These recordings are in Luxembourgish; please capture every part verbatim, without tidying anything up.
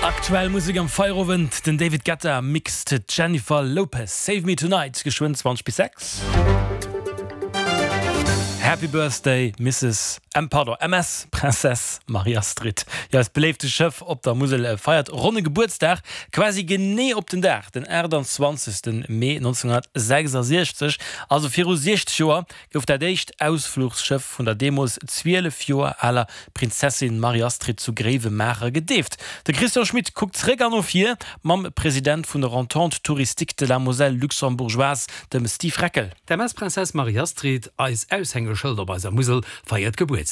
Aktuell Musek am Feierowend, den David Guetta mixt Jennifer Lopez. Save Me Tonight, geschwënn zwanzeg bis sechs. Happy Birthday Misses M pardon, M S Princess Marie-Astrid. Jo, eist beléifte Schëff op der Musel feiert ronne Gebuertsdag, quasi genee op den Dag, den aachtanzwanzegste Mee nonzénghonnertsechsasechzeg, also viru siechzeg Joer, gouf dat éischt Ausfluchsschëff vun der deemools zwielef Joer aler Prinzessin Marie-Astrid zu Gréiwemaacher gedeeft. De Christian Schmit kuckt zréck an no vir mam President vun der Entente Touristique de la Moselle Luxembourgeoise, dem Steve Reckel. D'M S Princess Marie-Astrid, eist Aushängeschëld op eiser Musel, feiert Gebuertsdag.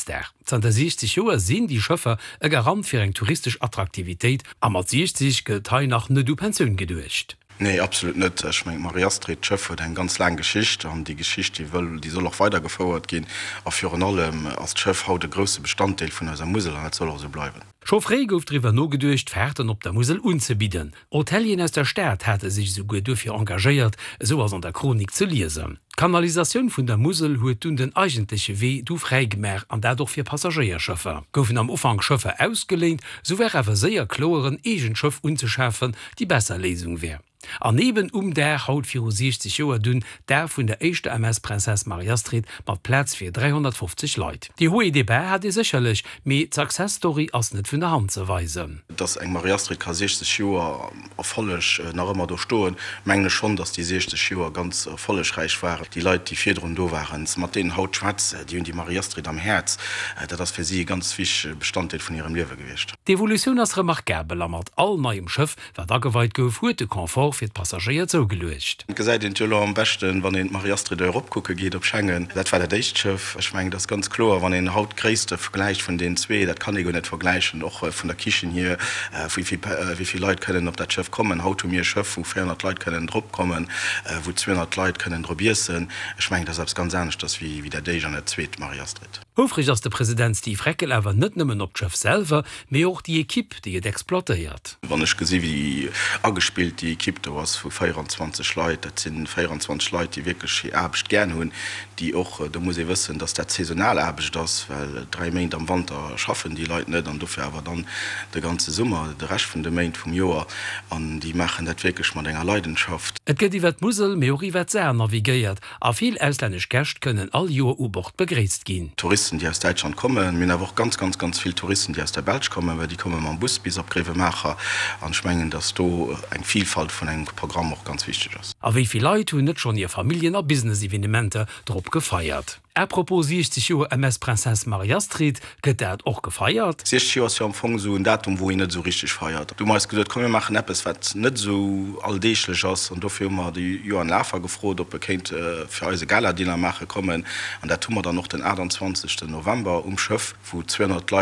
Zanter siechzeg Joer sinn déi Schëffer e Garant fir eng touristesch Attraktivitéit a mat siechzeg gëtt hei nach net u Pensioun geduecht. Nee, absolut net. Ech mengen, d'Marie-Astrid, d'Schëff huet eng ganz laang Geschicht an déi Geschicht, déi wëll, déi soll och weidergefouert ginn. A virun allem ass d'Schëff haut e grousse Bestanddeel vun eiser Musel an dat soll och esou bleiwen. Scho fréi gouf driwwer nogeduecht, Faarten op der Musel unzebidden. Hotelieren aus der Stad hate sech esouguer dofir engagéiert, esou ass an der Chronik ze liesen. D'Kanalisatioun vun der Musel huet dunn den eigentleche Wee du fräigemaach an dat och fir Passagéierschëffer. Goufen am Ufank Schëffer ausgeléint, sou war awer séier kloer, en eegent Schëff unzeschafen déi besser Léisung wär. An eben um Dag haut viru siechzeg Joer dunn d'Daf vun der éischter M S Princess Marie-Astrid mat Plaz fir dräihonnertfofzeg Leit. Déi Hauts et des Bas hat ee sécherlech, mee d'Success Story ass net vun der Hand ze weisen. Dass eng Marie-Astrid ka siechzeg Joer Erfolleg nach ëmmer do stoen, mengen ech schonn, dass déi siechzeg Joer ganz erfollegräich waren. Déi Leit, déi virdrun do waren, mat deenen haut schwätz, déi hunn déi Marie-Astrid am Häerz. Dat ass fir si e ganz wichtege Bestanddeel vun hirem Liewe gewiescht. D'Evolutioun ass remarkabel a mat all neiem Schëff, wat ageweit gouf, huet de Confort fir d'Passagéier zougeluecht. Et gesäit een et jo elo am beschten, wann een d'Marie-Astrid erop kucke geet op Schengen. Dat war dat éischt Schëff. Ech mengen, et ass ganz kloer, wann een haut d'Gréisste vergläicht vun deenen zwee, dat kann ee guer net vergläichen, och vun der Kichen hier, wéi vill, wéi vill Leit kënnen op dat Schëff kommen. Haut hu mir e Schëff, wou véierhonnert Leit kënnen drop kommen, wou zweehonnert Leit kënnen drop iessen. Ech mengen, dat ass eppes ganz aneschters wéi dat éischt an dat zweet Marie-Astrid. Houfreg ass de President Steve Reckel awer net nëmmen op d'Schëff selwer, mee och déi Ekipp, déi et exploitéiert. Wann ech gesi wéi agespillt déi Ekipp do ass vu véieranzwanzeg Leit, dat si véieranzwanzeg Leit, déi wierklech hir Aarbecht gären hunn, déi och, do muss ee wëssen, datt dat saisonal Aarbecht ass, well dräi Méint am Wanter schaffen déi Leit net an dofir awer dann de ganze Summer, de Rescht vun de Méint vum Joer an déi maachen dat wierklech mat enger Leidenschaft. Et gëtt iwwer d'Musel, mee och iwwer d'Saar navigéiert a vill auslännesch Gäscht kënnen all Joer u Bord begréisst ginn. Touristen, déi aus Däitschland kommen. Mir hunn awer och ganz, ganz, ganz vill Touristen, déi aus der Belsch kommen, well déi komme mam Bus bis op Gréiwemaacher. An ech mengen, dass do eng Vielfalt vun engem Programm och ganz wichteg ass. A wéi vill Leit hunn net schonn hir Familljen a Business-Evenementer drop gefeiert? À propos siechzeg Joer M S Princess Marie-Astrid, gëtt dat och gefeiert? Siechzeg Joer ass jo am Fong esou en Datum, wou een net esou richteg feiert. Du hu mer eis geduet, komm mir maachen eppes, wat net esou alldeeglech ass. An dofir hu mer de Johann Lafer gefrot, ob e kéint fir eis e Gala-Dinner maache kommen. An dat hu mer dann och den aachtanzwanzegsten November um Schëff, wou zweehonnert Leit